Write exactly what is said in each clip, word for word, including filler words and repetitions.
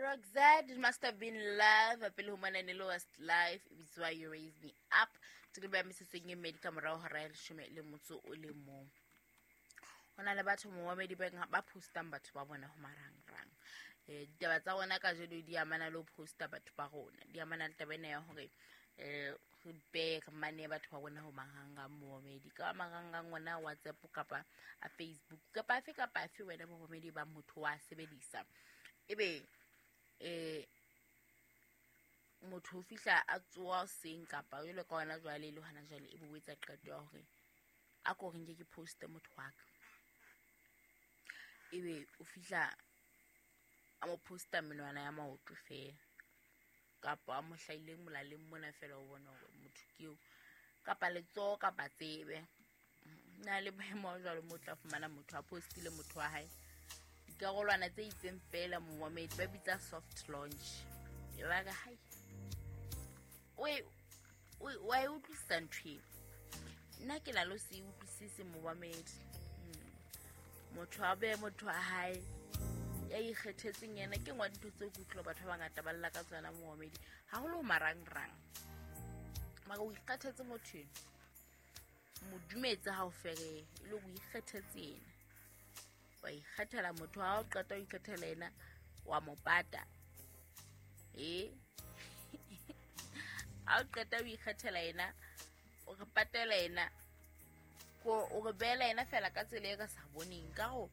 Roxette, it must have been love. Pele ho mona ne le Westlife, e bitswa You Raise Me Up. Tiriba ya mesetsong e mmedi ka morao hora ya leshome le motso o le mong. Ho na le batho momamedi ba ba postang batho ba bona ho marangrang. Eh, ditaba tsa rona kajeno di amana le ho posta batho ba rona. Di amana le taba ena ya hore eh re behe re mane batho ba rona ho marangrang momamedi. Ka marangrang ona WhatsApp kapa a Facebook kapa afe kapa afe wena momamedi ba motho wa sebedisa. Ebe eh motho o fihla a tsoha hoseng kapa jwalo ka hona jwale le hona jwale ebe o etsa qeto ya hore a ko re nke ke poste motho wa ka. Ebe o fihla a mo posta menwana ya maoto feela kapa a mo hlahileng molaleng mona feela o bona hore motho ke eo kapa letsoho kapa tsebe. Na le boemo ba jwalo mo tla fumana motho a postile motho wa hae dikarolwana tse itseng feela momamedi ba bitsa soft launch. E ba re hai o wa e utlwisisa ntho eo. Nna ke na le ho se utlwisise momamedi. Motho a behe motho wa hae ya ikgethetseng yena ke nngwe ya dintho tseo ke utlwa batho ba bangata ba lla ka tsona momamedi haholo ho marangrang. Mara o ikgethetse motho eno, mo dumetse ha o ferehe e le o ikgethetse yena. Wa ikgethela motho ha o qeta ho ikgethela yena wa mo pata. Eh ha o qeta ho ikgethela yena o re patela yena ko o re beela yena fela ka tsela e re sa boneng ka ho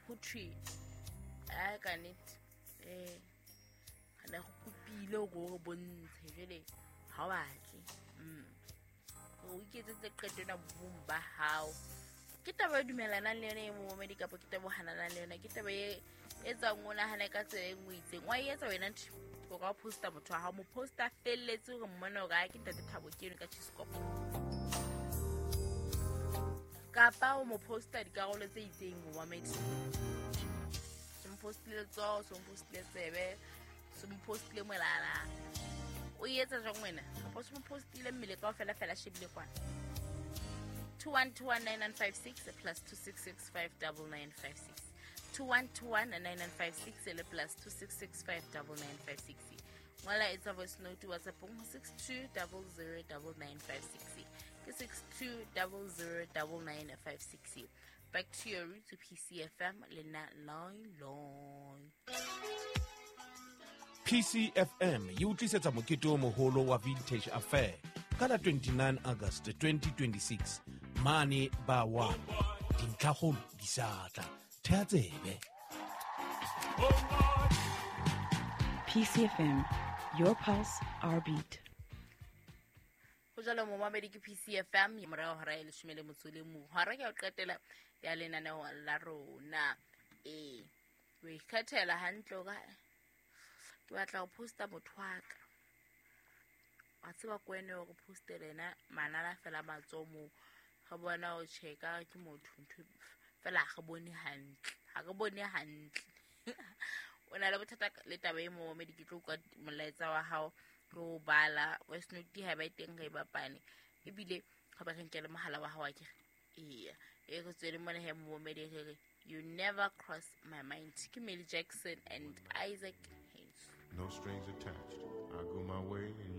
ho thwe a ka nnete eh re ne go kopile hore o re bontshe jwale ha o batle. Mm o iketsetse qeto ena bong ba hao. Ke taba e dumelanang le yona e momamedi kapa ke taba e hananang le yona, ke taba e etsang o nahane ka tsela e nngwe itseng. Wa e etsa wena ntho o ka posta motho wa hao, mo posta felletse hore mmone hore a ke ntate Thabo ke eno ka Chiscopo. Kapa o mo posta dikarolo tse itseng momamedi. Se mo postile letsoho, se mo postile tsebe, se mo postile molala. O e etsa jwang wena? Kapa se mo postile mmele kaofela fela shebile kwana. two one two one nine nine five six plus two six six five double nine five six. two one two one nine nine five six le plus two six six five double nine five six. Ngola etsa voice note WhatsApp ho six two double zero double nine five six. Ke six two double zero double nine five six. Back to your roots P C F M le nna Loy Loy. P C F M e utlisetsa mokete o moholo wa Vintage Affair ka la twenty-nine August twenty twenty-six mane ba one. Dintlhakgolo di sa tla. Thea tsebe. P C F M, your pulse, our beat. Ho jalo momamedi ke P C F M morao hora e leshome le motso le mong. Hora ke ya ho qetela ya lenaneo la rona. Eh, o ikgethela hantle hore ke batla ho posta motho wa ka. Wa tseba ko wena hore postele yena manala fela matsoho moo. Re bona o checka ke motho ntho fela ha re bone hantle. Ha re bone hantle. O na le bothata le taba e momamedi ke tlo utlwa molaetsa wa hao re o bala voice note ha ba e teng re e bapane. Ebile ha ba re nkele mohala wa hao akere. Eya, e re tswele mona he momamedi re re You Never Cross My Mind ke Millie Jackson and Isaac Hayes. No strings attached. I go my way and